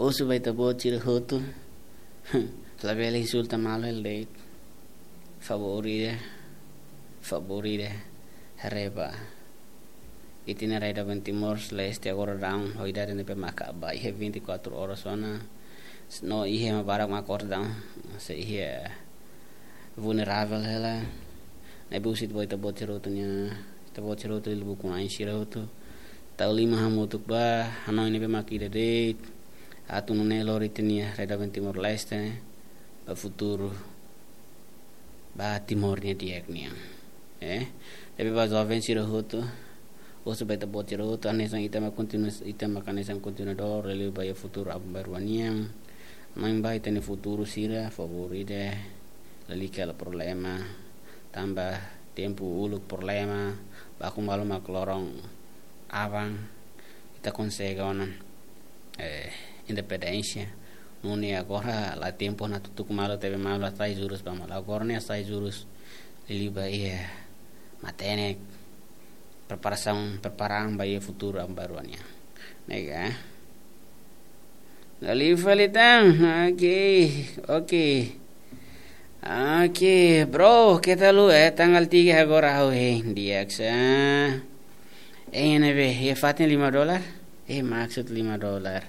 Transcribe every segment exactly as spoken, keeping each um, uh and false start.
Husu ba ita-boot sira hotu. Labele insulta malu hela de'it. Favór ida, favór ida, haree ba ita-nia rai doben Timor-Leste agora daudaun ho idade ne'ebé maka ba iha vinte e quatro horas ona. No iha ema barak mak akorda daudaun. Se iha vulneravel hela. Ne'ebé husu ba ita-boot sira hotu nia, ita-boot sira hotu liuliu ukun-na'in sira hotu. Tau liman hamutuk ba hanoin ne'ebé mak ida de'it. Atu nune'e lori ita-nia rai doben Timor-Leste ba futuru, ba Timor nia di'ak nian. Eh, ne'ebé ba joven sira hotu, husu ba ita-boot sira hotu, hanesan ita mak kontinua, ita mak hanesan kontinuadór, liuliu ba iha futuru aban-bainrua nian. Mai ba ita-nia futuru sira, favór ida, lalika hela problema, tanba tempu uluk problema, baku malu mak loron aban, ita konsege ona, eh, independénsia. Nune'e agora la tempu ona tutuk malu, tebe malu, hasai jurus ba malu. Agora ne'e hasai jurus, liuliu ba iha matenek, preparasaun, preparasaun ba iha futuru aban-bainrua nian. Ne'e ka? Liu fali tan, oke, oke. Oke, bro, keta haluha, eh, tanggal tiga agora ha'u hein, di'ak sa. Eh, ne'ebé, iha fatin lima dolar? Eh, maksud lima dolar.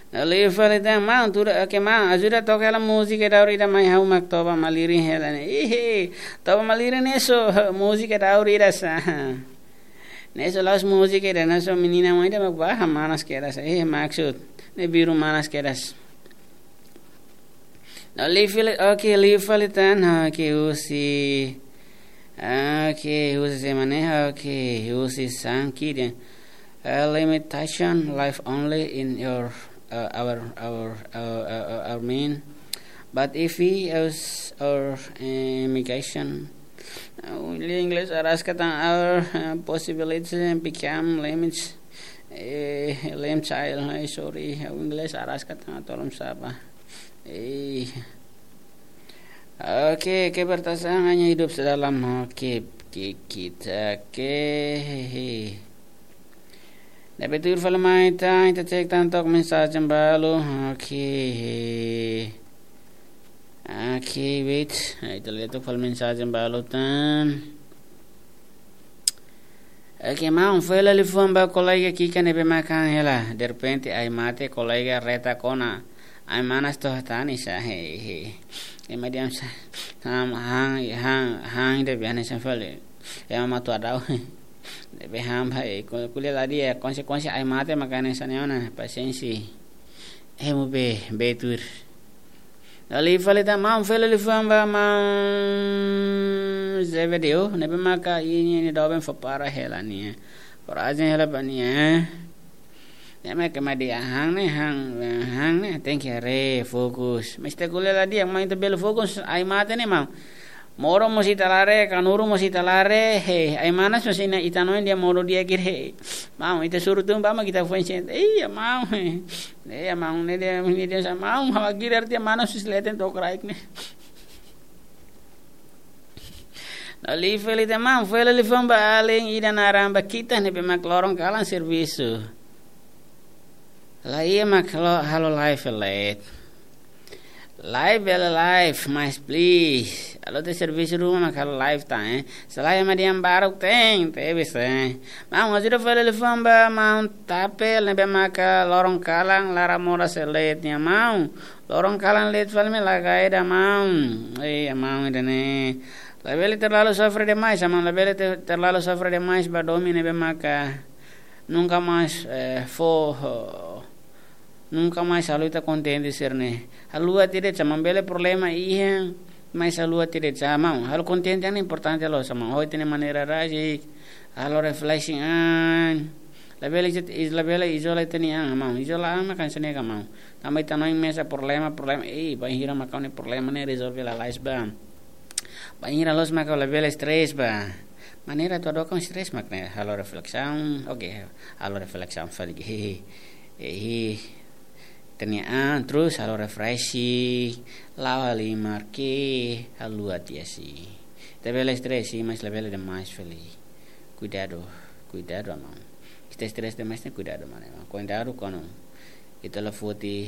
Liu fali tan, maun, tuda, oke, maun, ajuda toka hela múzika daur ida mai ha'u mak toba malirin hela ne'e. Ih, toba malirin ne'e só, múzika daur ida sa. Ne'e só la'ós múzika ida, ne'e só menina mai ida mak ba han manas kedas. Eh, maksud, ne'e biru manas kedas. No, liu fali, oke, liu fali tan, oke, husi, oke, husi semana, oke, husi Sanki dehan, uh, limitation, live only in your, uh, our, our, uh, uh, uh, our mean. But if we use our, uh, immigration, uh, lia inglés araska tan, our, uh, possibilities become limits, eh, limit child, eh, sorry, uh, inglés araska tan, tolong sapa. Eh. Oke, kebertasaan hanya hidup sedalam, oke, ki-, kita, oke. Ne'ebé tuir fali mai tan, ita cek tan to'ok mensajen balu. Oke. Oke, wait. Ita lee to'ok fali mensajen balu tan. Oke, maun, fó hela liafuan ba kolega ki'ik ne'ebé mak han hela. Derrepente ai-mate kolega retak ona. Ai-manas to'o hatane sa, he, he. Ema dehan sa, han, han, han, han ida be hanesan fali ema matu adau. Ne'ebé han ba, eh, ko-, ko'alia la di'ak, konsekuénsia ai-mate mak hanesan ne'e ona, pasiénsia. Ema be, be tuir. Liu fali tan, maun, fó hela liafuan ba maun Zebedio, ne'ebé maka iha nia doben fó para hela nia. Korajen hela ba nia. Ne'e mak ema dehan han ne'e, han, han ne'e, tenke haree, fokus. Mas ita ko'alia la di'ak, maun, ita bele fokus, ai-mate ne'e, maun. Modo mós ita la haree, kanuru mós ita la haree, he, ai-manas mós iha ita hanoin dehan modo di'ak ida, he. Maun, ita suru tun ba mak ita foin sente. Iya, maun, he. Iya, maun, ne'e dehan, ne'e dehan sa, maun, ha'u hakbesik de'it, manas sis leten to'o kraik ne'e. No, liu fali tan, maun, fó hela liafuan ba alin ida naran Bakita ne'ebé mak loron kalan servisu. La iha mak halo, halo live leet. Live bele live, mas please. Halo tiha servisu ruma mak halo live tan, eh. Selae ema dehan baruk tan, tebes, eh. Maun, ajuda fó hela liafuan ba maun Tapel ne'ebé maka loron kalan laran moras leet nian, maun. Loron kalan leet fali mai la kaida, maun. Eh, maun, ida-ne'e. Labele terlalu sofre demais, maun. Labele te-, terlalu sofre demais ba domin ne'ebé maka nunka mais, eh, fó, nunka mais halo ita kontente sira-ne'e. Haluha tiha de'it, maun, bele problema iha, mas haluha tiha de'it, maun. Halo kontente an importante loos, maun. Ho ita-nia maneira rasik, halo reflection an. Labele izo-, is-, labele izola ita-nia an, maun. Izola an mak hanesan ne'e ka, maun. Tanba ita hanoin mesak problema, problema, eh, bainhira mak ha'u-nia problema ne'e rezolve lalais ba. Bainhira loos mak ha'u labele stress ba. Maneira atu hadook stress mak ne'e, halo reflesaun, oke, halo reflesaun fali. Hehe. Hehe. Ita-nia an, terus halo refreshing, la'o halimar, ke, haluha tiha si. Ita bele stress si, mas labele demais fali. Kuidadu, kuidadu, maun. Ita stress demais ne'e kuidadu, maun. Kuidadu kuandu ita la foti